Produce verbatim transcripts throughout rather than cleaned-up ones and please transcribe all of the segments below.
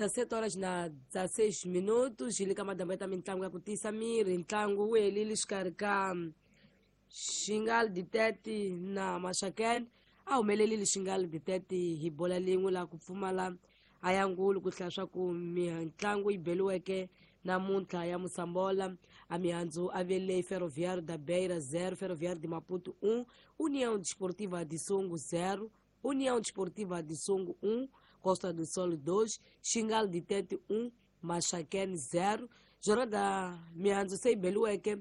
dezessete horas na dezesseis minutos hi le ka madambu ya ta mitlangu ya ku tiyisa miri. Ntlangu wu helile xikarhi ka Xingal Ditete na Maxakene. A humelerile Xingal Ditete hi bola lin'we laha ku pfumala a ya ngulu ku hlaya swa ku mitlangu yi beliweke namuntlha ya Moçambola. A mihandzu a vele Ferroviário da Beira zero, Ferroviário de Maputo um, União Desportiva de Songo zero, União Desportiva de Songo um, Costa do Sol dois, Xingal de Tete um, Maxaquene zero. Jornada mihandzu se yi beliweke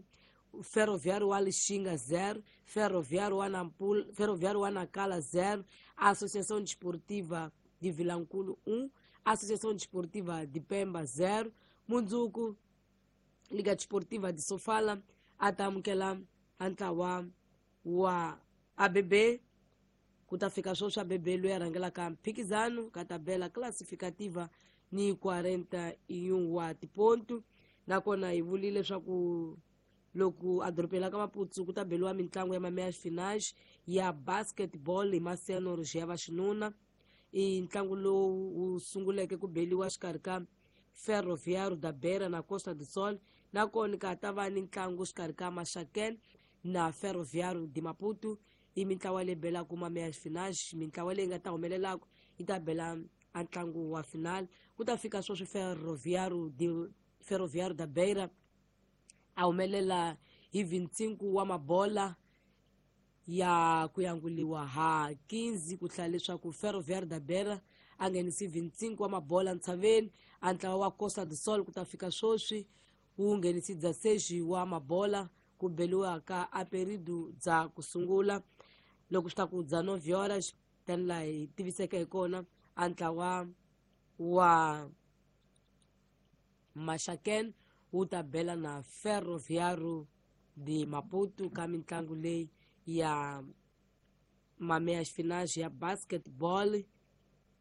Ferroviário wa Lixinga zero, Ferroviário wa Nampula, Ferroviário wa Nacala zero, Associação Desportiva de Vilanculo um, Associação Desportiva de Pemba zero, Mundzuku Liga Desportiva de Sofala atamukela ntlawa wa A B B. Ku ta fika sweswi A B B loyi a rhangelaka mphikizano ka tabela classificativa ni quarenta e um wa tipontu. Nakona hi vulile leswaku loko a dorobeni la ka Maputo ku ta beliwa mitlangu ya meias finais ya basketball hi maseniors ya vaxinuna. I ntlangu lowu wu sunguleke ku beliwa xikarhi ka Ferroviário da Beira na Costa do Sol. Nakona ka ta va ni ntlangu xikarhi ka Maxakene na Ferroviário de Maputo. I mintlawa leyi belaka ma meias finais, mintlawa leyi nga ta humelelaka yi ta bela a ntlangu wa final. Ku ta fika sweswi Ferroviário de Ferroviário da Beira a humelela hi vinte e cinco wa mabola ya ku yanguliwa ha quinze, ku hlaya leswaku Ferroviário da Beira a nghenisi vinte e cinco wa mabola ntshaveni. A ntlawa wa Costa do Sol ku ta fika sweswi wu nghenisi dezesseis wa mabola ku beliwa ka a período bya ku sungula. Loko swi ta ku dezenove horas tani laha hi tiviseke hi kona, a ntlawa wa Maxakene wu ta bela na Ferroviário de Maputo ka mitlangu leyi ya meias finais ya basketball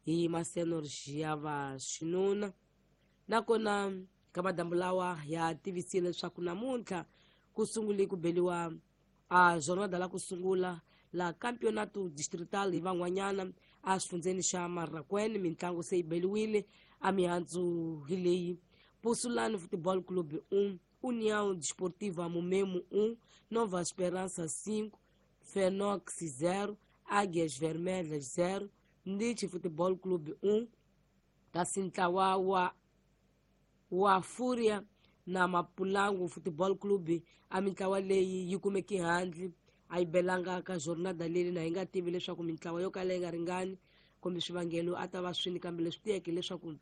hi maseniors ya vaxinuna. Nakona ka madambu lawa ya tivisile leswaku namuntlha ku sungule ku beliwa a jornada la ku sungula la campeonato distrital hi van'wanyana a xifundzeni xa Marraquene. Mitlangu se yi beliwile a mihandzu hi leyi: Pussulani Futebol Clube um, União Desportiva Mumemo um, Nova Esperança cinco, Fenox zero, Águias Vermelhas zero, Nietzsche Futebol Clube um, kasi ntlawa wa, wa Fúria na Mapulango Futebol Clube. A mintlawa leyi yi kumeke handle, a yi belanga ka jornada leyi na hi nga tivi leswaku mintlawa yo kala yi nga ringani kumbe swivangelo a ta va swini, kambe leswi tiyeke leswaku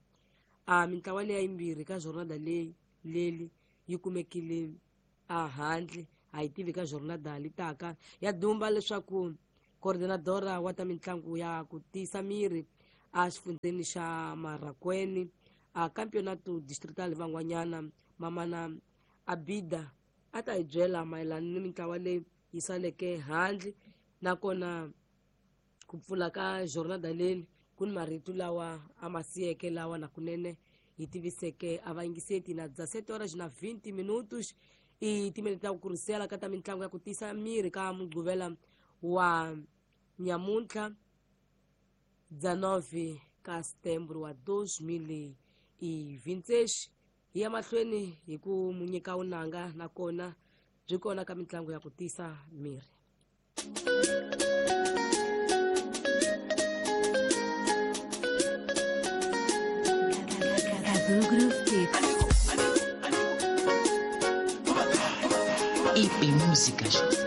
a mintlawa leyi yimbirhi ka jornada leyi leli yi kumekile a handle. A yi tivi ka jornada litaka ya dumba leswaku coordenadora wa ta mitlangu ya ku tiyisa miri a xifundzeni xa Marraquene a campeonato distrital van'wanyana Mamana Abida a ta hi byela mayelana ni mintlawa leyi yi saleke handle. Nakona ku pfula ka jornada leyi ku ni marito lawa a ma siyeke lawa nakunene hi tiviseke a vayingiseti na dezessete horas na vinte minutos. I timinete ta ku kurisela ka ta mitlangu ya ku tiyisa miri ka Mugqivela wa nyamuntlha dezenove ka setembro wa dois mil e vinte e seis. Hi ya mahlweni hi ku mu nyika vunanga nakona byi kona ka mitlangu ya ku tiyisa miri. I P Músicas.